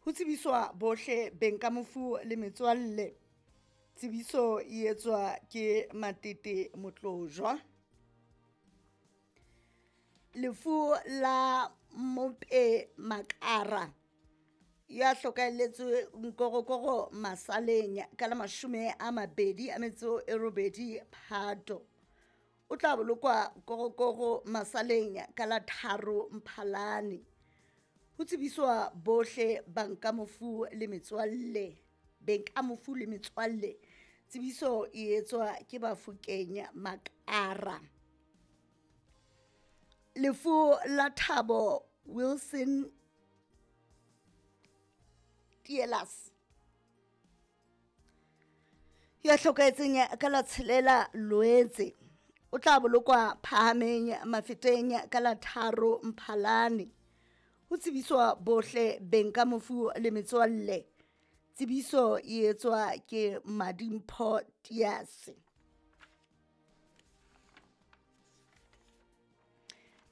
Ho tsebiswa bohle beng ka mofu le metswalle. Tsebiso e etswa ke Matete Motlojwa. Lefu la Mope Makara ya hlokahelletswe Nkorokoro Masaleng ka la 28 Phato. O tla bolokwa Korokoro Masaleng ka la 3 Mphalane. Ho tsebiswa bohle banka mofu le metswalle, beng ka mofu le metswalle. Tsebiso e etswa ke Bafokeng Makara. Lefu la Thabo Wilson Tielas ya hlokahetseng ka la 6 Loetse. O tla bolokwa Phahameng Mafeteng ka la 3 Mphalane. Ho tsebiswa bohle beng ka mofu le metswalle. Tsebiso e etswa ke Madimpho Tiase.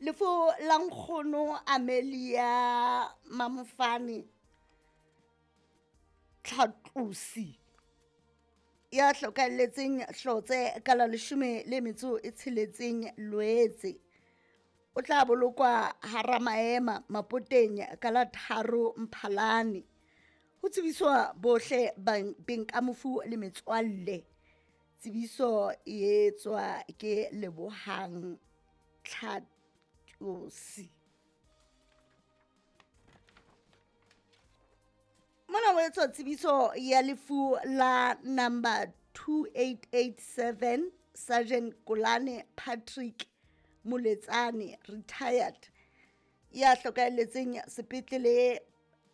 Lefu la nkgono Amelia Mamofane Tlhatlosi ya hlokahelletseng Hlotse ka la 16 Loetse. O tla bolokwa hara maema Mapoteng ka la 3 Mphalane. Ho tsebiswa bohle beng ka mofu le metswalle. Tsebiso e etswa ke Lebohang Tlhatlosi. Mona ho etswa tsebiso ya lefu la number 2887 Sergeant Kolane Patrick Moletsane retired ya hlokahelletseng sepetlele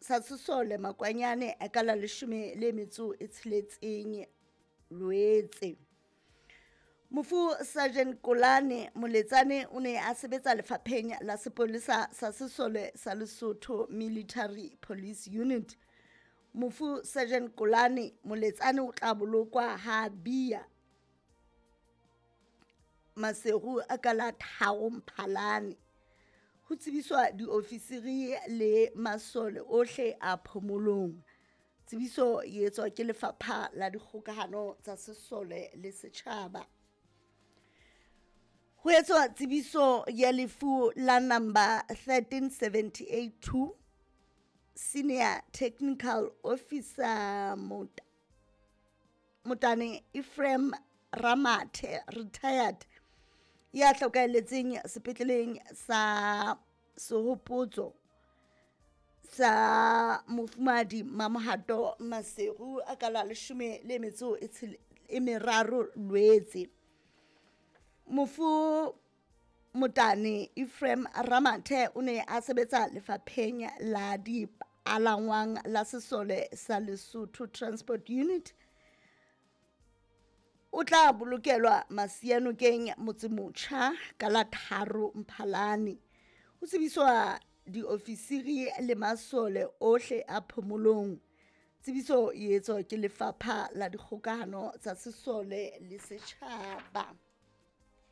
sa Sesole Makwanyane ka la 16 Loetse. Mofu Sergeant Kolane Moletsane o ne a sebetsa lefapheng la sepolesa sa Sesole sa Lesotho Military Police Unit. Mofu Sergeant Kolane Moletsane o tla bolokwa ha Bia Maseru a ka la 3 Mphalane. Ho tsebiswa diofisiri le masole ohle a phomolong. Tsebiso e etswa ke lefapha la dikgokahano tsa sesole le setjhaba. Ho etswa tsebiso ya lefu la number 13782 Senior Technical Officer Motane Ephraim Ramathe retired ya hlokahelletseng sepetleleng sa Sehopotso sa Mofumadi Mamohato Maseru a ka la 13 Loetse. Mofu Motane Ephraim Ramathe o ne a sebetsa lefapheng la dipalangwang la Sesole sa Lesotho Transport Unit. O tla bolokelwa Masianokeng Motsemotjha ka la 3 Mphalane. Ho tsebiswa diofisiri le masole ohle a phomolong. Tsebiso e etswa ke lefapha la dikgokahano tsa sesole le setjhaba.